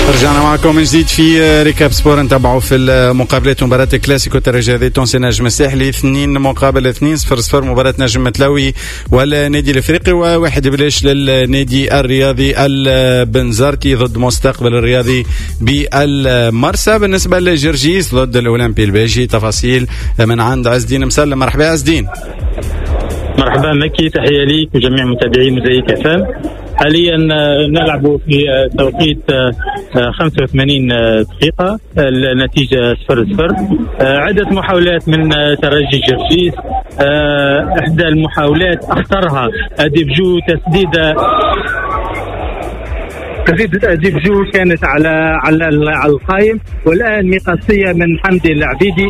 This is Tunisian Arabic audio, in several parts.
رجعنا معكم من جديد في Récap Sport، نتابعوا في المقابلات مباراة الكلاسيكو الترجي التونسي نجم الساحلي 2-2 0-0، مباراة نجم متلوي والنادي الافريقي، وواحد بلاش للنادي الرياضي البنزرتي ضد مستقبل الرياضي بالمرسى. بالنسبة لجرجيس ضد الاولمبي الباجي، تفاصيل من عند عز الدين مسلم. مرحبا عز الدين. مرحبا مكي، تحية ليك وجميع متابعي موزايك اف ام. حاليا نلعب في توقيت 85 دقيقة، النتيجة 0-0. عدة محاولات من ترجي جرجيس، إحدى المحاولات أخطرها أديب جو، تسديدة أديب جو كانت على على على القائم، والآن مقصية من حمدي العبيدي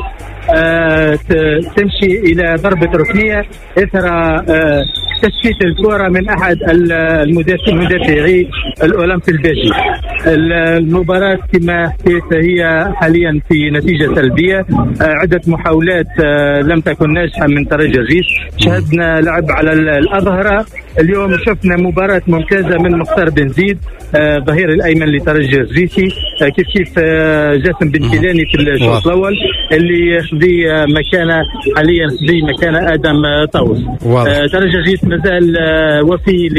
تمشي إلى ضربة ركنية إثر تشتيت الكرة من أحد المدافعي الأولمبي الباجي. المباراة كما حكيت هي حاليا في نتيجة سلبية، عدة محاولات لم تكن ناجحة من ترجي جرجيس. شهدنا لعب على الأظهرة، اليوم شفنا مباراة ممتازة من مختار بن زيد ظهير الأيمن لترجي جرجيسي، كيف كيف جاسم بن كيلاني في الشوط الأول اللي خذي مكانه حاليا، خذي مكانه آدم طاوس. ترجي جرجيس مازال وفي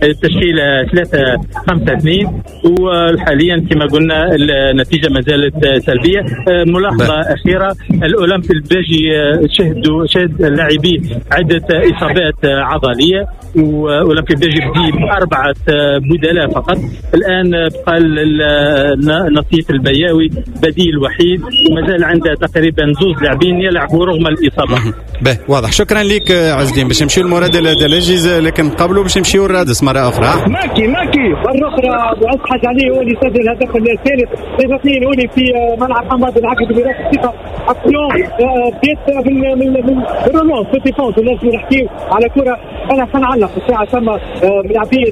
للتشكيلة 3-5-2، وحاليا كما قلنا النتيجة ما زالت سلبية. ملاحظة أخيرة، الأولمبي الباجي شهد اللاعبين عدة إصابات عضلية، وأولمبي الباجي بدي ب4 بدلاء فقط. الآن بقى نصيف البياوي بديل وحيد، وما زال عنده تقريبا 2 لاعبين يلعبوا رغم الإصابة. به واضح، شكرا لك عز الدين. باش نمشيو لمراد الدلاجي، لكن قبله باش نمشيو لرادس مرة أخرى. ماكي مرة أخرى معز حاج علي هو اللي سجل الهدف الثالث 3-2 هوني في ملعب حماد العقد براس الثقة. اكسيون بدات من ال relance في défense، ولازم نحكيو على كرة. أنا سنعلق الساعة ثم لاعبية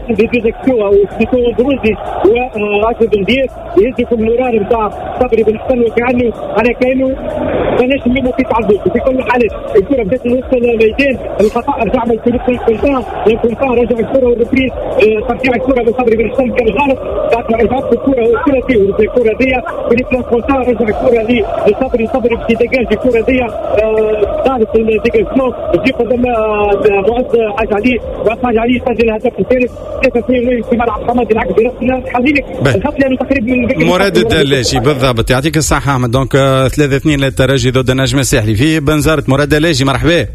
دي وسيتو بروزي وراجل بن دير يهزوا في المرار نتاع صبري بن حسن، وكأنه أنا كأنه ماناش نلوموا في تعذب. في كل الحالات الكرة بدات من وسط الميدان، الخطأ رجع من فريق كونتان، كونتان رجع الكرة وال reprise ترجيع الكرة بصبري بن حسن كان غلط، بعد ما رجعت الكرة الثلاثي والكرة دي فريق كونتان رجع الكرة لصبري، صبري باش ي dégage الكرة دي دارت ال dégagement تجي قدام معز حاج علي، معز حاج علي سجل الهدف الثالث 3-2 في ملعب حماد العقبي. خليك الخط لانه تقريبا من مراد الدلاجي بالضبط. يعطيك الصحة أحمد. donc 3-2 للترجي ضد النجم الساحلي في بنزرت. مراد الدلاجي مرحبا.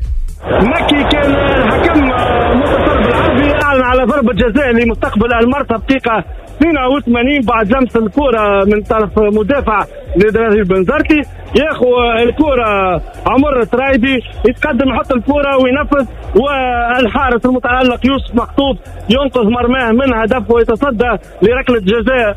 مكي كان الحكم منتصر بالعربي أعلن على ضربة جزاء لمستقبل المرسى دقيقة 82 بعد لمس الكرة من طرف مدافع لدرجة بنزرتي. ياخو الكرة عمر الترايبي يتقدم يحط الكرة وينفذ، والحارس المتألق يوسف مخطوف ينقذ مرماه من هدف ويتصدى لركلة جزاء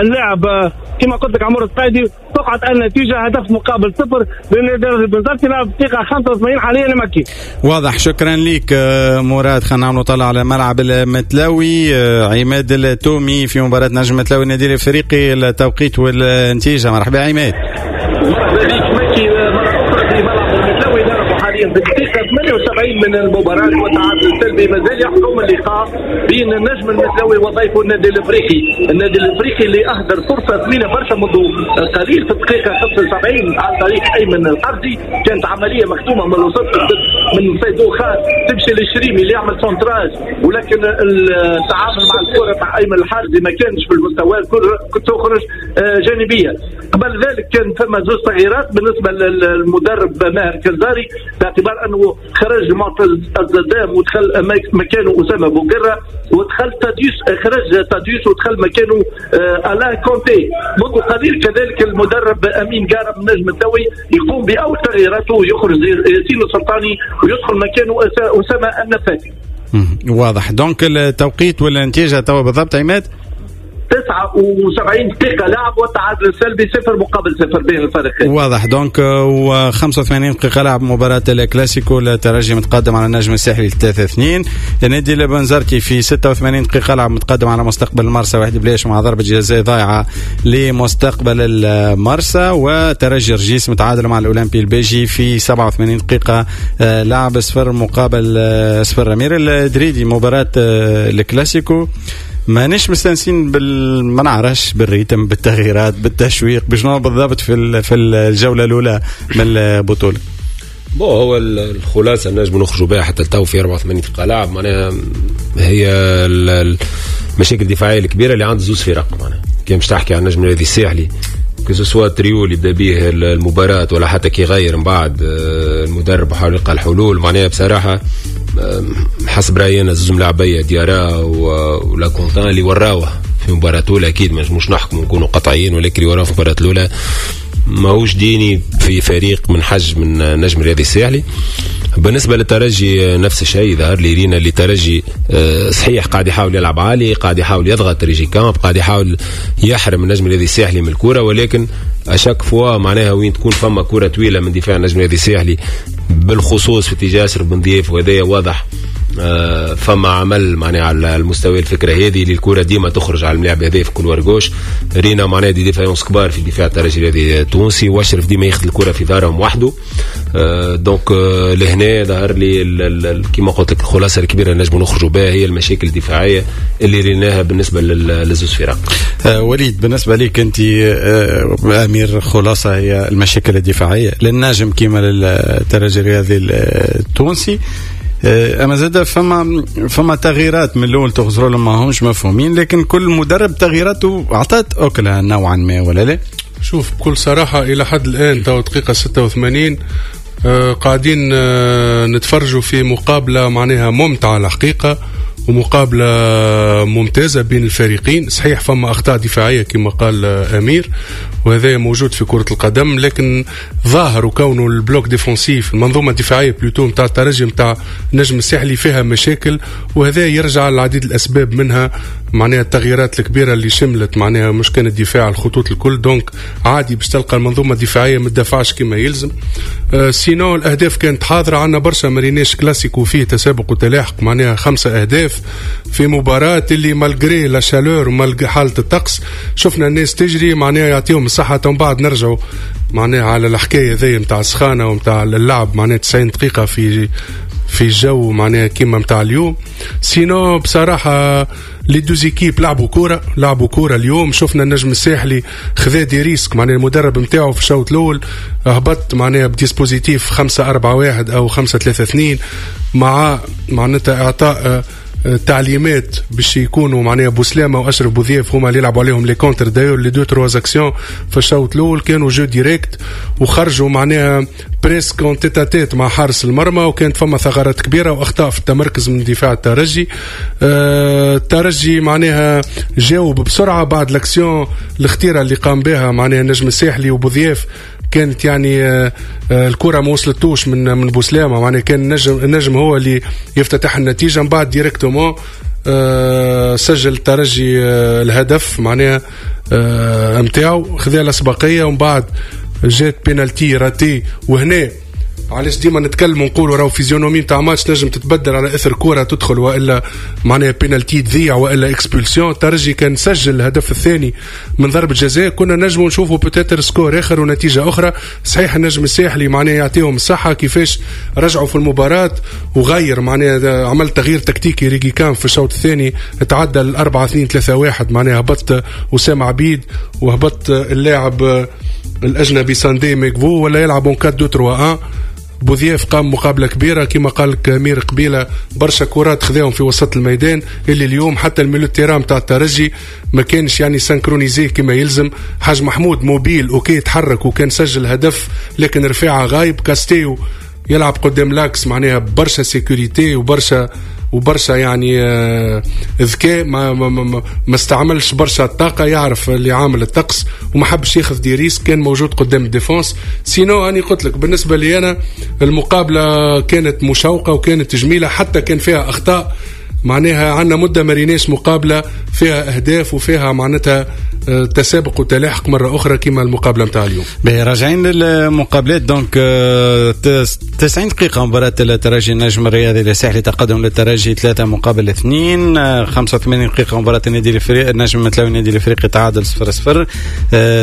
اللاعب كما قلت لك عمر الترايبي. تقعد النتيجة 1-0 لنادي بنزرتي دقيقة 85 حاليا مكي. واضح، شكرا لك مراد. خلينا نعملوا طلع على ملعب المتلاوي. عماد التومي في مباراة نجم متلاوي النادي الافريقي، التوقيت والنتيجة. مرحبا عماد. مرحبا بك مكي مرة أخرى في ملعب المتلاوي. نلعب حاليا في الدقيقة 78 من المباراة وتعادل سلبي مازال يحكم اللقاء بين النجم المتلاوي وضيفه النادي الافريقي. النادي الافريقي اللي اهدر فرصة ثمينة برشا منذ قليل في الدقيقة 75 عن طريق ايمن الحرزي، كانت عملية مختومة من الوسط من سيدو خان تمشي للشريمي اللي يعمل centrage، ولكن التعامل مع الكرة تاع ايمن الحرزي ما كانش في المستوى، الكرة تخرج جانبية. قبل ذلك كان ثم زوج تغييرات بالنسبة للمدرب ماهر كنزاري، باعتبار انه خرج معتز الزدام ودخل مكانه اسامة بوقره، ودخل تاديوس، خرج تاديوس ودخل مكانه الان كونتي. منذ قليل كذلك المدرب امين قارب نجم الدوي يقوم باول تغييراته، يخرج ياسين السلطاني ويدخل مكانه اسامة النفاتي. واضح. donc التوقيت والنتيجة توا بالضبط عماد؟ 79 دقيقة لعب والتعادل السلبي 0-0 بين الفريقين. واضح. donc و 85 دقيقة لعب مباراة الكلاسيكو، الترجي متقدم على النجم الساحلي 3-2. النادي البنزرتي في 86 دقيقة لعب متقدم على مستقبل المرسى 1-0 مع ضربة جزاء ضايعة لمستقبل المرسى. وترجي رجيس متعادل مع الأولمبي البيجي في 87 دقيقة لعب 0-0. أمير الدريدي مباراة الكلاسيكو مانيش مستانسين ما نعرفش بال rythme، بالتغييرات، بالتشويق، بشنو بالضبط في الجولة الاولى من البطوله. bon، هو الخلاصة نجم نخرجوا بها حتى التو في 84 دقيقة لعب، معناها هي المشاكل الدفاعية الكبيرة اللي عند زوز فرق. معناها كي مش تحكي عن النجم الرياضي الساحلي، que ce soit trio اللي بدا به المباراة ولا حتى كي غير من بعد المدرب وحاول يلقى الحلول، معناها بصراحة حسب رايي انا زوز ملاعبيه، ديارا ولا كونتان، اللي وراوه في المباراة الاولى، اكيد ما نجموش نحكموا نكونوا قطعيين، ولكن اللي وراوه في المباراة الاولى ماهوش digne في فريق من حجم من النجم الرياضي الساحلي. بالنسبة للترجي نفس الشيء، ظهر لي رينا اللي الترجي صحيح قاعد يحاول يلعب عالي، قاعد يحاول يضغط ريجيكامب، قاعد يحاول يحرم النجم الرياضي الساحلي من الكره، ولكن à chaque fois معناها وين تكون فما كره طويلة من دفاع النجم الرياضي الساحلي، بالخصوص في اتجاه اشرف بن ضياف، وهذا واضح فما عمل معناها على المستوى الفكرة هذه اللي الكره ديما تخرج على الملاعب هذا في couloir gauche. رينا معناها des défaillances كبار في دفاع الترجي الرياضي التونسي، واشرف ديما ياخذ الكره في ظهرهم وحده. donc لهنا ظهر لي كما قلت لك الخلاصة الكبيرة اللي نجموا نخرجوا بها هي المشاكل الدفاعية اللي ريناها بالنسبة للزوز فرق. وليد، بالنسبة لك انت امير، خلاصه هي المشاكل الدفاعية للنجم كما للترجي الرياضي التونسي. اما زاد فما تغييرات من الاول تغزروا لهم ما همش مفهومين، لكن كل مدرب تغييراته اعطت اكلها نوعا ما، ولا لا؟ شوف، بكل صراحة الى حد الان تو دقيقة 86 قاعدين نتفرجوا في مقابله معناها ممتعة الحقيقة ومقابلة ممتازة بين الفريقين. صحيح فما أخطاء دفاعية كما قال أمير، وهذا موجود في كرة القدم، لكن ظاهر وكونه ال bloc défensif، المنظومة الدفاعية plutôt نتاع الترجي نتاع النجم الساحلي فيها مشاكل، وهذا يرجع لعديد الأسباب، منها معناها التغييرات الكبيرة اللي شملت معناها مش كان الدفاع، الخطوط الكل. donc عادي باش تلقى المنظومة الدفاعية ما تدافعش كما يلزم. Sinon الأهداف كانت حاضرة، عندنا برشا ما ريناش كلاسيكو فيه تسابق وتلاحق، معناها 5 أهداف في مباراة اللي malgré la chaleur و malgré حالة الطقس شفنا الناس تجري، معناها يعطيهم الصحة. من بعد نرجعوا معناها على الحكاية ذي نتاع السخانة ونتاع اللعب معناها 90 دقيقة في الجو معناها كيما نتاع اليوم. sinon بصراحة les deux équipes لعبوا كورة، لعبوا كورة اليوم. شفنا النجم الساحلي خذا des risques، معناها المدرب نتاعو في الشوط الاول هبط معناها ب dispositif 5-4-1 او 5-3-2 مع معناتها اعطاء تعليمات باش يكونوا معناها بوسلامه واشرف بوذيف هما اللي يلعبوا عليهم les contres. d'ailleurs les deux trois actions في الشوط الاول كانوا jeu direct وخرجوا معناها presque en tête-à-tête مع حارس المرمى، وكانت فما ثغرات كبيرة واخطاء في التمركز من دفاع الترجي. الترجي معناها جاوب بسرعة بعد l'action الخطيرة اللي قام بها معناها النجم الساحلي وبوذياف، كانت يعني الكره ما وصلتوش من بوسلامه، معناها كان النجم هو اللي يفتتح النتيجه. من بعد directement سجل الترجي الهدف معناها نتاعو، خذا الاسبقيه، ومن بعد جات pénalty ratée. وهنا علاش ديما نتكلموا نقولوا راهو physionomie تاع ماتش نجم تتبدل على اثر كره تدخل والا معناها بينالتي تضيع والا expulsion. الترجي كان سجل الهدف الثاني من ضربه جزاء، كنا نجموا نشوفوا peut-être score اخر ونتيجة اخرى. صحيح النجم الساحلي معناها يعطيهم الصحة كيفاش رجعوا في المباراة وغير معناها عمل تغيير تكتيكي ريجيكامب في الشوط الثاني، تعدى ل 4-2-3-1، معناها هبط اسامة عبيد وهبط اللاعب الاجنبي ساندي ميكفو ولا يلعب 4-2-3-1. بوذياف قام مقابله كبيرة كما قال لك امير قبيلة، برشا كرات خذاهم في وسط الميدان اللي اليوم حتى ال milieu terrain تاع الترجي ما كانش يعني synchronisé كما يلزم. حاج محمود mobile OK تحرك وكان سجل هدف، لكن رفاعة غايب. كاستيو يلعب قدام l'axe معناها برشا sécurité وبرشا يعني ذكاء، ما استعملش برشا الطاقه، يعرف اللي عامل الطقس وما حبش ياخذ des risques، كان موجود قدام ال défense. sinon اني قلت لك بالنسبة لي انا المقابلة كانت مشوقة وكانت جميلة حتى كان فيها اخطاء، معناها عندنا مده ما ريناش مقابله فيها اهداف وفيها معناتها تسابق وتلاحق مرة اخرى كما المقابلة نتاع اليوم. راجعين للمقابلات، donc 90 دقيقة مباراة الترجي النجم الرياضي الساحلي، تقدم للترجي 3-2. 85 دقيقة مباراة النادي الافريقي النجم المتلوي النادي الافريقي تعادل 0-0.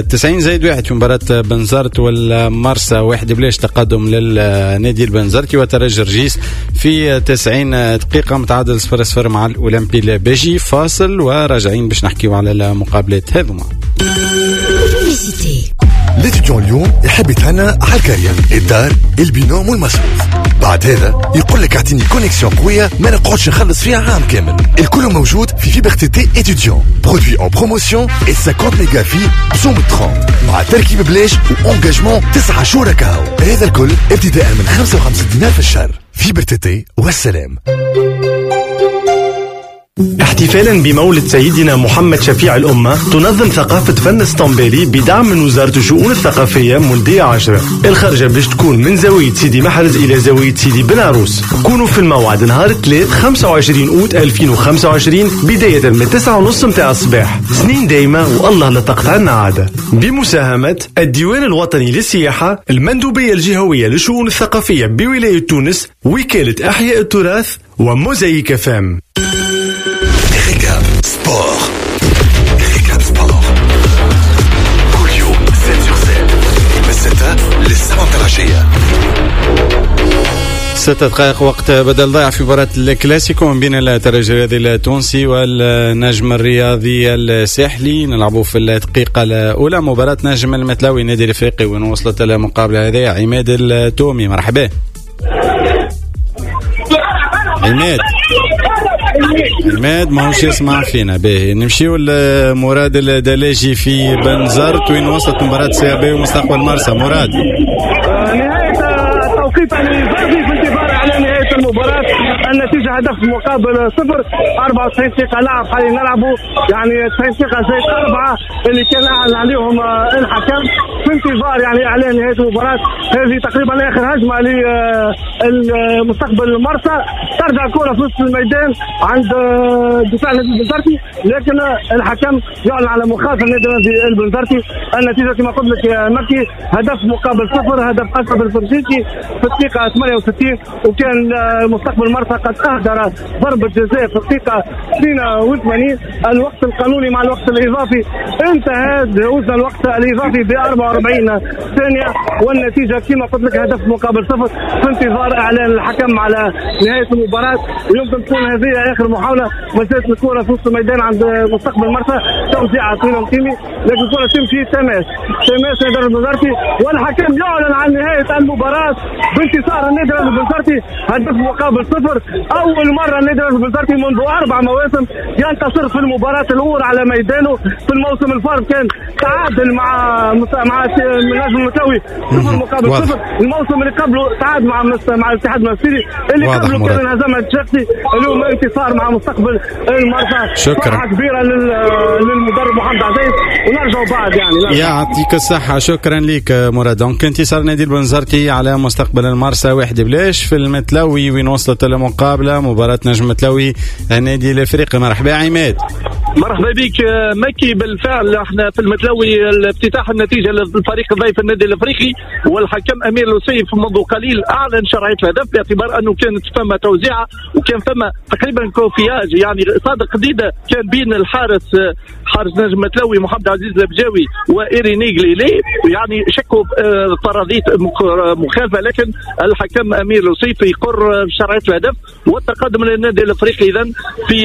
90+1 في مباراة بنزرت والمرسى 1-0 تقدم للنادي البنزرتي. وترجي رجيس في 90 دقيقة متعادل 0-0 0 مع الأولمبي الباجي. فاصل وراجعين باش نحكيو على المقابلات هذوما. L'étudiant اليوم يحب يتهنى على ال carrière، الدار، ال binôme والمصروف. بعد هذا يقول لك اعطيني connexion قوية ما نقعدش نخلص فيها عام كامل. الكل موجود في fibre TT étudiant، produit en promotion 50 ميجا في بسوم 30 مع تركيب بلاش و engagement 9 شهور كاو. هذا الكل ابتداء من 55 دينار في الشهر. fibre TT والسلام. احتفالا بمولد سيدنا محمد شفيع الأمة، تنظم ثقافة فن اسطنبولي بدعم من وزارة الشؤون الثقافية مولدية 10. الخرجة باش تكون من زاوية سيدي محرز إلى زاوية سيدي بن عروس. كونوا في الموعد نهار 3 25 أوت 2025 بداية من 9:30 متاع الصباح. سنين دايمة والله لا تقطعنا عادة. بمساهمة الديوان الوطني للسياحة، المندوبية الجهوية للشؤون الثقافية بولاية تونس، وكالة أحياء التراث، وموزايك فام. Récap Sport. Récap Sport. كل يوم 7 sur 7 من 6 ل 7 العشية. 6 دقائق وقت بدل ضيع في مباراة الكلاسيكو من بين الترجي الرياضي التونسي والنجم الرياضي الساحلي. نلعبوا في الدقيقة الأولى مباراة نجم المتلوي النادي الإفريقي، وين وصلت المقابلة هذه عماد التومي. مرحبا عماد. عماد ماهوش يسمع فينا. باهي نمشيو لمراد الدلاجي في بنزرت، وين وصلت مباراة CAB ومستقبل مرسى. مراد، نهاية التوقيت الإضافي في انتظار على نهاية المباراة، النتيجة هدف مقابل 0. 94 دقيقة لعب حاليا نلعبوا، يعني 90 دقيقة زائد 4 اللي كان أعلن عليهم الحكم، في انتظار يعني إعلان نهاية المباراة. هذه تقريبا آخر هجمة لمستقبل المرسى. ترجع الكرة في نصف الميدان عند دفاع النادي البنزرتي، لكن الحكم يعلن على مخالفة النادي البنزرتي. النتيجة كما قلت لك يا مكي هدف مقابل 0، هدف أشرف الفرنسيسي في الدقيقة 68، وكان مستقبل المرسى قد أهدر ضربة جزاء في الدقيقة 82. الوقت القانوني مع الوقت الإضافي انتهى، وصل الوقت الإضافي ب 44 ثانية، والنتيجة كما قلت لك هدف مقابل 0 في انتظار إعلان الحكم على نهاية المباراة. ويمكن تكون هذه آخر محاولة. ما زالت الكرة في وسط الميدان عند مستقبل مرسى، توزيع طويلة مقيمي، لكن الكرة تمشي تماس نادي البنزرتي، والحكم يعلن عن نهاية المباراة بانتصار النادي البنزرتي هدف مقابل 0. أول مرة النادي البنزرتي منذ 4 مواسم ينتصر في المباراة الأولى على ميدانه. في الموسم الفارط كان تعادل مع نجم المتلوي 0 مقابل 0. الموسم اللي قبله تعادل مع الاتحاد المنستيري، اللي قبله كان انهزم الشخصي. اليوم انتصار مع مستقبل المرسى. شكرا، فرحة كبيرة للمدرب محمد عزيز، ونرجعوا بعد يعني. يعطيك الصحة، شكرا لك مراد. donc انتصار نادي البنزرتي على مستقبل المرسى 1-0 في المتلوي، وين وصلت المقابلة مباراة نجم المتلوي النادي الافريقي. مرحبا عماد. مرحبا بك مكي. بالفعل احنا في المتلوي افتتاح النتيجة للفريق الضيف النادي الافريقي، والحكم امير لوسيف منذ قليل اعلن شرعية الهدف باعتبار انه كانت فما توزيعه وكان فما تقريبا cafouillage، يعني صادق قديده كان بين الحارس حارس نجم متلوي محمد عزيز البجاوي وإيريني غليلي، يعني شكوا فرضية مخالفة، لكن الحكم امير لوسيف يقر شرعية الهدف والتقدم للنادي الافريقي. اذا في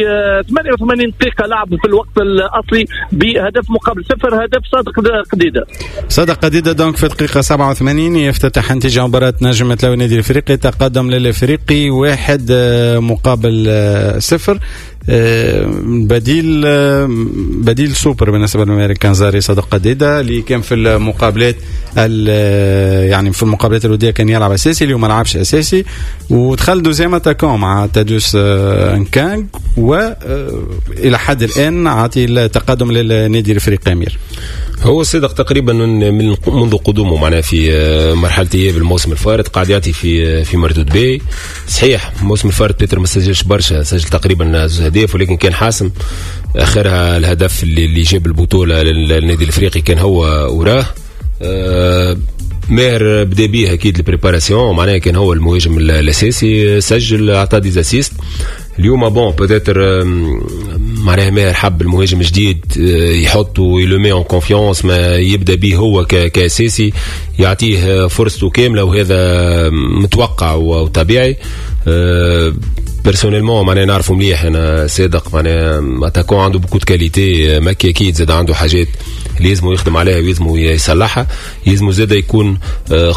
88 دقيقة لعب في الوقت الاصلي بهدف مقابل 0، هدف صادق قديده. صادق قديده donc في دقيقة 87 يفتتح نتيجة مباراة نجم متلوي النادي الافريقي، تقدم للافريقي 1-0. بديل سوبر بالنسبة للامريكان زاري صادق قديده اللي كان في المقابلات يعني في المقابلات الودية كان يلعب اساسي، اليوم ما لعبش اساسي ودخل deuxième attaquant مع تادوس انكانغ، والى حد الان عاطي التقدم للنادي الافريقي. امير، هو صدق تقريبا من منذ قدومه معناها في مرحلة اياب الموسم الفارط قاعد يعطي في مردود باهي. صحيح الموسم الفارط بيتر ما سجلش برشا، سجل تقريبا 2 اهداف، ولكن كان حاسم. اخرها الهدف اللي جاب البطولة للنادي الافريقي كان هو وراه. ماهر بدا بيه اكيد ال préparation، معناها كان هو المهاجم الاساسي، سجل اعطى des assists. اليوم bon peut-être معناها ماهر حب المهاجم الجديد يحطه il le met en confiance، ما يبدا به هو كاساسي، يعطيه فرصته كاملة، وهذا متوقع وطبيعي. personnellement معناها نعرفه مليح انا صادق، معناها attaquant عنده beaucoup de qualités، مكي اكيد زاد عنده حاجات اللي لازم يخدم عليها ويلزم يصلحها، يلزم زاد يكون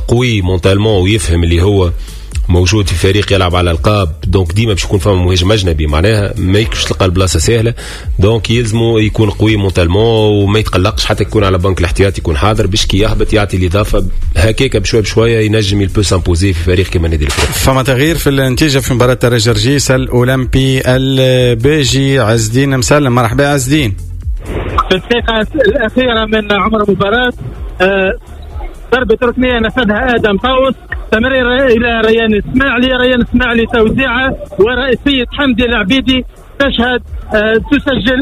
قوي mentalement ويفهم اللي هو موجود في فريق يلعب على القاب، donc ديما باش يكون فما مهاجم اجنبي، معناها ما يكش تلقى البلاصة سهله، donc يلزمو يكون قوي mentalement وما يتقلقش، حتى يكون على بنك الاحتياط يكون حاضر باش كي يهبط يعطي الاضافه، هكاك بشوية بشوية ينجم il peut s'imposer في فريق كيما النادي الافريقي. فما تغيير في النتيجة في مباراة ترجي جرجيس الاولمبي الباجي. عز الدين مسلم، مرحبا عز الدين. في الدقيقة الاخيرة من عمر المباراة ضربة ركنية نفذها آدم طاوس، تمرير إلى ريان إسماعيلي، ريان إسماعيلي توزيعه ورئيسية حمدي العبيدي تشهد تسجل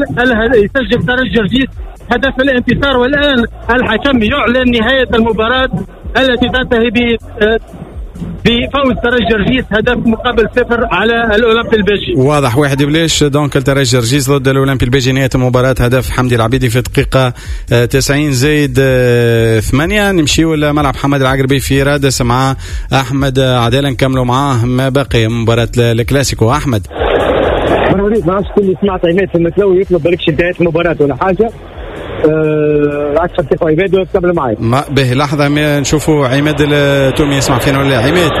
يسجل ترجي جرجيس هدف الانتصار. والآن الحكم يعلن نهاية المباراة التي تنتهي بفوز ترجي جرجيس 1-0 على الاولمبي الباجي. واضح 1-0 donc الترجي جرجيس ضد الاولمبي الباجي. نهاية المباراة هدف حمدي العبيدي في دقيقة 90 زايد 8. نمشيو لملعب حماد العقربي في رادس مع احمد عدالة، نكملوا معاه ما بقي مباراة الكلاسيكو. احمد مرحبا بك. ما عرفتش كل سمعت عماد في المتلوي يطلب بالكش انتهاء المباراة ولا حاجة. عكس تاخذ عماد وتكمل معي. ما به لحظة ما نشوفوا عماد التومي يسمع فينا ولا عماد.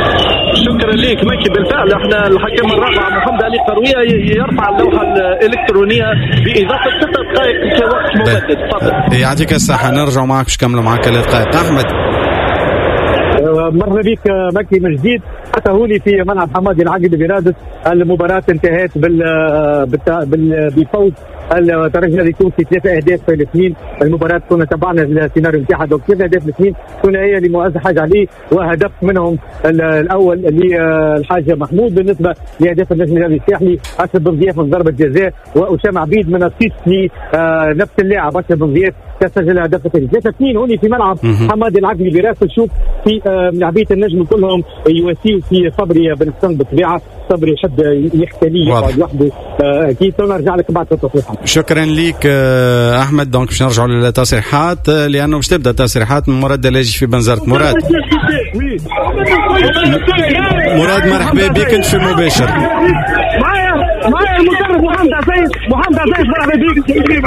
شكرا لك مكي. بالفعل احنا الحكم الرابع محمد علي قرويه يرفع اللوحة الالكترونية باضافة 6 دقائق كوقت مبدد. تفضل. يعطيك الصحة، نرجع معك باش نكملوا معك 3 دقائق. احمد مرحبا بك مكي من جديد. حتى هوني في ملعب حمادي العقربي برادس المباراة انتهت بفوز الترجي التونسي 3-2. المباراة كنا تبعنا السيناريو نتاعها، donc 3-2 ثنائية لمعز حاج علي وهدف منهم الأول للحاج محمود. بالنسبة لأهداف النجم الرياضي الساحلي أشرف بن ضياف من ضربة جزاء وأسامة عبيد من assist لنفس اللاعب أشرف بن ضياف تسجل هدف الثاني. 3-2 هوني في ملعب حمادي العقربي برادس. نشوف في لاعبية النجم كلهم يواسيو في صبري بن حسن، بالطبيعة صبري يحب يختلي يقعد وحده اكيد. نرجع لك بعد التصريحات. شكرا لك احمد. donc باش نرجعوا للتصريحات لانه باش تبدا التصريحات من مراد اللاجي في بنزرت. مراد مراد مرحبا بك، انت في المباشر. معايا المدرب محمد عزيز. محمد عزيز مرحبا بك.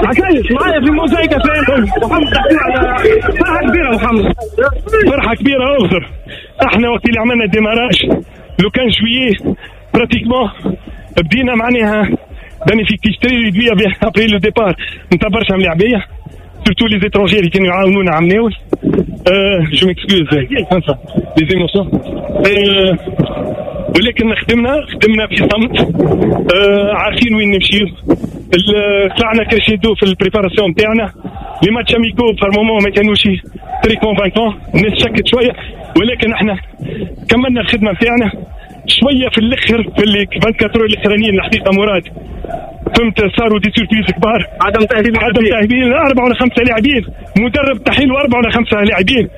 عزيز معايا في موزايكا محمد. فرحه كبيرة محمد، فرحه كبيرة. اغفر احنا وقت اللي عملنا démarrage le 15 juillet pratiquement بدينا معناها d'un effectif très réduit après le départ نتاع برشا ملاعبيه surtout les étrangers اللي كانوا يعاونونا عمناول. je m'excuse les émotions، ولكن خدمنا في صمت، عارفين وين نمشيو. طلعنا crescendo في ال préparation نتاعنا. les matchs amicaux par moments ما كانوش très convaincants، الناس شكت شوية، ولكن احنا كملنا الخدمة نتاعنا شوية في الاخر في اللي 24 الاخرانيين. الحقيقة مراد فهمت صاروا des surprises كبار، عدم تاهيل 4 ولا 5 لاعبين، مدرب تحيل 4 ولا 5 لاعبين.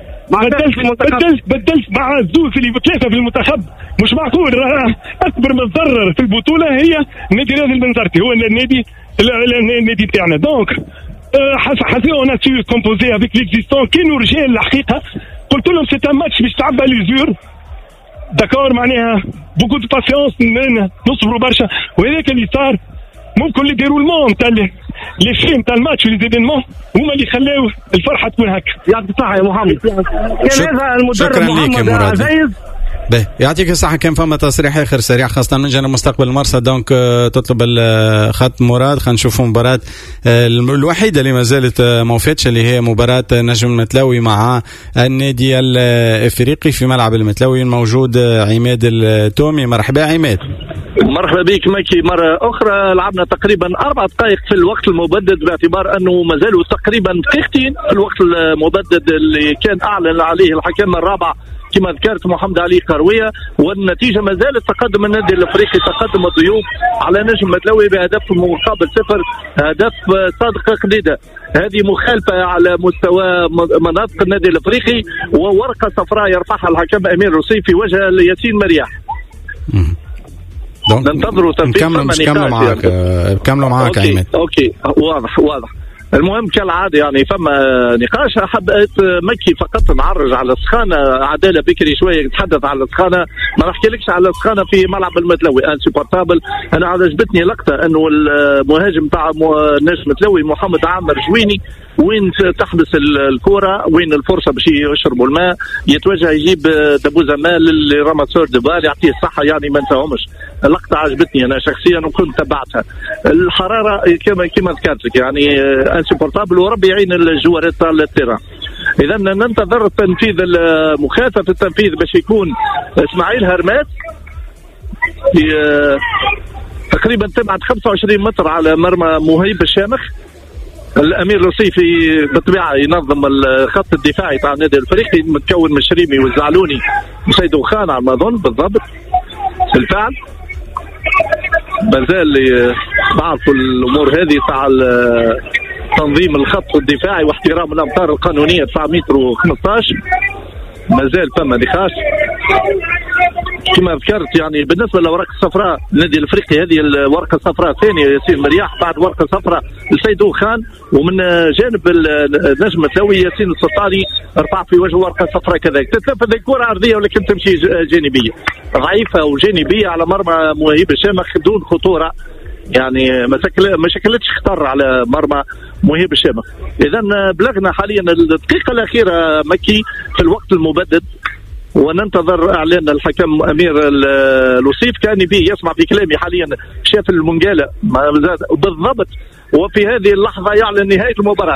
بدلت مع الزوز اللي 3 في المنتخب، مش معقول. اكبر متضرر في البطولة هي النادي الرياضي البنزرتي، هو النادي تاعنا. donc حسيت on a su composer avec l'existant. كانوا رجال الحقيقة، قلت لهم c'est un match باش تعبى l'usure d'accord، معناها beaucoup de patience، نصبروا برشا، وهذاك اللي صار. ممكن les déroulements تاع les faits تاع الماتش و les événements هما اللي خلاو الفرحة تكون هكا. يعطيك الصحة يا محمد. كان هذا المدرب محمد عزيز. باهي يعطيك الصحة. كان فما تصريح آخر سريع خاصة من جانب مستقبل المرسى، donc تطلب الخط مراد. خلينا نشوفوا مباراة الوحيدة اللي ما زالت ما وفاتش اللي هي مباراة نجم المتلوي مع النادي الإفريقي في ملعب المتلوي. الموجود عماد التومي. مرحبا عماد. مرحبا بك مكي مرة أخرى. لعبنا تقريبا 4 دقائق في الوقت المبدد، باعتبار أنه ما زالوا تقريبا دقيقتين في الوقت المبدد اللي كان أعلن عليه الحكم الرابع كما ذكرت محمد علي قروية، والنتيجة ما زالت تقدم النادي الافريقي، تقدم الضيوف على نجم متلوي بهدف مقابل 0، هدف صادق قديدة. هذه مخالفة على مستوى مناطق النادي الافريقي، وورقة صفراء يرفعها الحكم امير روسي في وجه ياسين مرياح. ننتظروا تنفيذ. نكملوا معاك، نكملوا معاك عماد. OK واضح واضح. المهم كالعادة يعني فما نقاش. حبيت مكي فقط نعرج على السخانه، عدالة بكري شوية نتحدث على السخانه، ما نحكيلكش على السخانه في ملعب المتلوي insupportable. انا عجبتني لقطة انه المهاجم تاع نجم المتلوي محمد عامر جويني وين تحبس الكره، وين الفرصة باش يشربوا الماء، يتوجه يجيب دبوزه ماء لل ramasseur de balles، يعطيه الصحة يعني ما نساهمش. اللقطة عجبتني انا شخصيا وكنت تبعتها. الحرارة كما ذكرت لك يعني insupportable، وربي يعين الجوارات تاع ال terrain. اذا ننتظر تنفيذ المخالفة، في التنفيذ باش يكون اسماعيل هرمات في تقريبا تبعد 25 متر على مرمى مهيب الشامخ. الامير الوصيفي بالطبيعة ينظم الخط الدفاعي تاع النادي الافريقي متكون من الشريمي والزعلوني وسيدو خان على ما اظن بالضبط. بالفعل مازال بعرفوا الامور هذه تاع تنظيم الخط الدفاعي واحترام الامتار القانونية 9 متر و15، مازال فما نقاش كما ذكرت. يعني بالنسبة للاوراق الصفراء النادي الافريقي هذه الورقة الصفراء الثانية ياسين مرياح بعد ورقة صفراء لسيدو خان، ومن جانب النجم الثوي ياسين السلطاني رفع في وجهه ورقة صفراء كذلك. تتنفذ الكره عرضية ولكن تمشي جانبيه ضعيفة وجانبيه على مرمى مهيب الشامخ دون خطورة، يعني ما شكلتش خطر على مرمى مهيب الشامخ. اذا بلغنا حاليا الدقيقة الاخيرة مكي في الوقت المبدد، وننتظر اعلان الحكم امير الوصيف. كان به يسمع في كلامي حاليا شاف المنقاله بالضبط، وفي هذه اللحظة يعلن نهاية المباراة.